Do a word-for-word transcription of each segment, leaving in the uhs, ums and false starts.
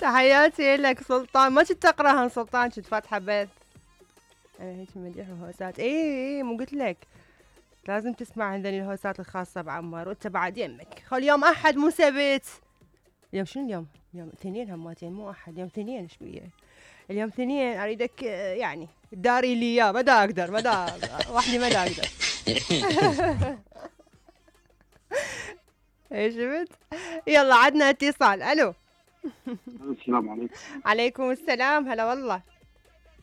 تحياتي لك سلطان. ما كنت تقراها سلطان، كنت فاتحه بث. انا هيك مديح وهوسات. اي اي مو قلت لك لازم تسمع هذول الهوسات الخاصه بعمار، وانت بعد يمك. خل يوم احد مو سبت. اليوم شنو اليوم؟ اليوم اثنين هماتين مو احد، اليوم اثنين. ايش بيه؟ اليوم اثنين. اريدك يعني داري لي اياه. ما دا اقدر ما دا وحدي ما دا اقدر. ايش شفت؟ يلا عدنا اتصال. الو. السلام عليكم. عليكم السلام. هلا والله.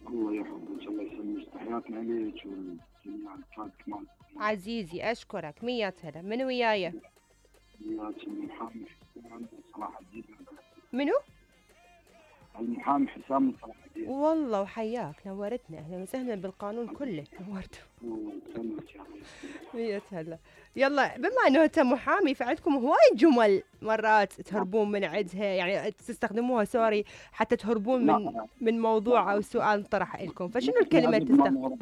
الله يحفظك. الله يسلمك. تحياتنا لك والجميع الفات كمان. عزيزي اشكرك. مية هلا. من وياي؟ المحامي حسام صلاح الدين. منو؟ المحامي حسام صلاح الدين. والله وحياك، نورتنا. اهلا وسهلا بالقانون كله. نورته. مية هلا. يلا بما انه انت محامي فعندكم هواي جمل مرات تهربون من عندها، يعني تستخدموها سوري حتى تهربون من من موضوع او سؤال طرح لكم، فشنو الكلمه تستخدم؟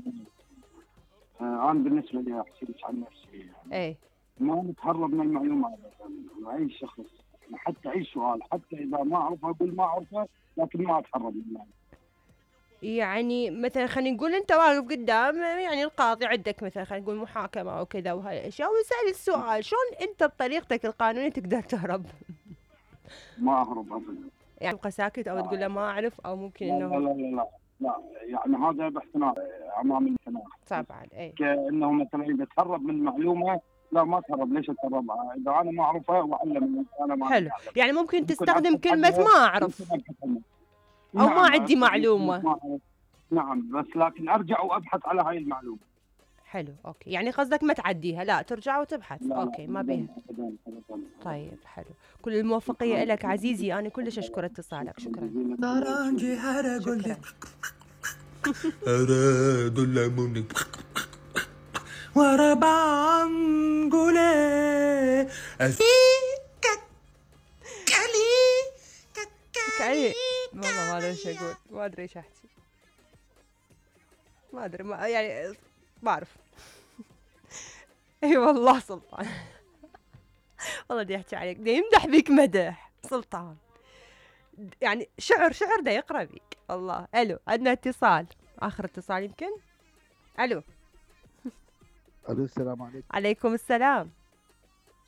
انا بالنسبه لي احكي عن نفسي يعني ايه ما نتهرب من المعلومات. اي شخص حتى اي سؤال حتى اذا ما اعرفه اقول ما اعرفه، لكن ما اتهرب منه. يعني مثلا خلينا نقول انت واقف قدام يعني القاضي، عندك مثلا خلينا نقول محاكمه او كذا وهاي الاشياء، ويسال السؤال، شلون انت بطريقتك القانونيه تقدر تهرب؟ ما اهرب ابدا. يعني تبقى ساكت او تقول له ما اعرف، او ممكن انه لا لا لا لا لا يعني هذا باحترام امام المحكمه. طبعا اي كانه مثلا اذا تهرب من معلومه، لا ما تهرب. ليش اتهرب؟ اذا انا ما اعرفها واعلم انا ما حلو. أعلم. يعني ممكن, ممكن تستخدم كلمه ما اعرف او نعم ما عندي معلومه. نعم بس لكن ارجع وابحث على هاي المعلومه. حلو اوكي. يعني قصدك ما تعديها، لا ترجع وتبحث. لا اوكي لا ما بيها. طيب حلو. كل الموفقيه لك عزيزي. انا كلش اشكر اتصالك. شكرا. شكرا. ورا بانجولي كالي كالي. والله ما ادري ايش اقول، ما ادري ايش احكي، ما ادري ما يعني ما اعرف. اي والله سلطان. والله دي احكي عليك، دي يمدح بيك مدح سلطان، يعني شعر شعر دا يقرا بيك. الله. الو عندنا اتصال، اخر اتصال يمكن. الو. الو السلام عليكم. عليكم السلام.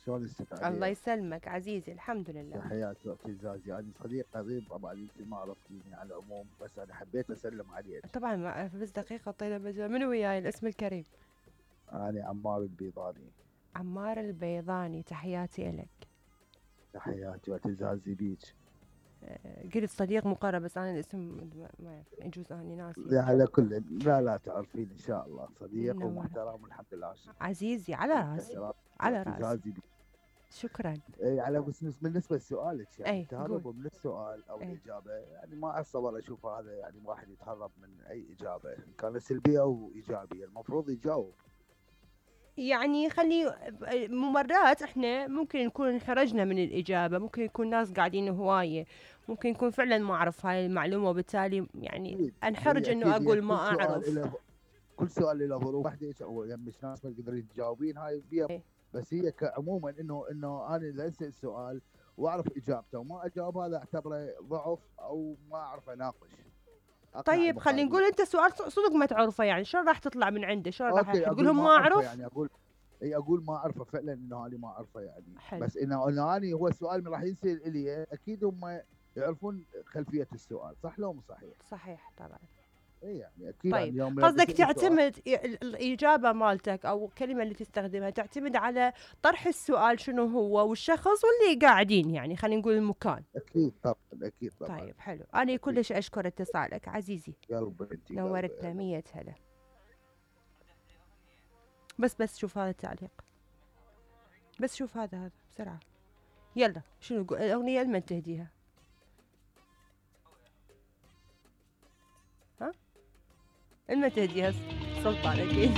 شلون استاذ؟ الله يسلمك عزيزي. الحمد لله. تحياتي واعتزازي. انا صديق قريب طبعا يمكن ما عرفتيني على العموم، بس انا حبيت اسلم عليك. طبعا ما اعرف، بس دقيقه طيله مجال. منو وياي الاسم الكريم؟ انا عمار البيضاني. عمار البيضاني. تحياتي لك. تحياتي واعتزازي بيك. قلت صديق مقرب بس انا الاسم ما يجوز اني ناسي. لا على كل لا لا تعرفين ان شاء الله. صديق ومحترم والحمد لله. عزيزي على راسي على راسي. شكرا. اي على بس بالنسبه لسؤالك يعني أي تهربوا من السؤال او أي. الاجابه، يعني ما اتصور اشوف هذا يعني واحد يتهرب من اي اجابه ان كانت سلبيه او ايجابيه، المفروض يجاوب. يعني خلي مرات احنا ممكن نكون انحرجنا من الاجابه، ممكن يكون ناس قاعدين هوايه، ممكن يكون فعلا ما اعرف هاي المعلومه وبالتالي يعني انحرج انه اقول ما اعرف. كل سؤال له ظروف وحده او يعني مش ناس ما تقدرين تجاوبين هاي بيها. إيه؟ بس هي كعموما انه انه انا اذا اسال السؤال واعرف اجابته وما اجاوب هذا اعتبره ضعف او ما اعرف اناقش. طيب خلينا نقول انت سؤال صدق ما تعرفه، يعني شلون راح تطلع من عنده؟ شلون راح تقول لهم ما اعرف؟ يعني اقول اي اقول ما اعرفه فعلا انه انا ما اعرفه يعني. حلو. بس انه انا أنا هو السؤال من راح ينسال الي اكيد هم يعرفون خلفيه السؤال، صح لو مو صحيح؟ صحيح طبعا. اي يعني اكيد. طيب يعني قصدك تعتمد الاجابه مالتك او الكلمه اللي تستخدمها تعتمد على طرح السؤال شنو هو والشخص واللي قاعدين، يعني خلينا نقول المكان. اكيد طبعا اكيد طبعا. طيب حلو. انا كلش اشكر اتصالك عزيزي. قلبي انت نورتنا. مية هلا. بس بس شوف هذا التعليق، بس شوف هذا هذا بسرعه. يلا شنو الاغنيه لمن تهديها؟ ها؟ لمن تهديها؟ سلطان اكيد.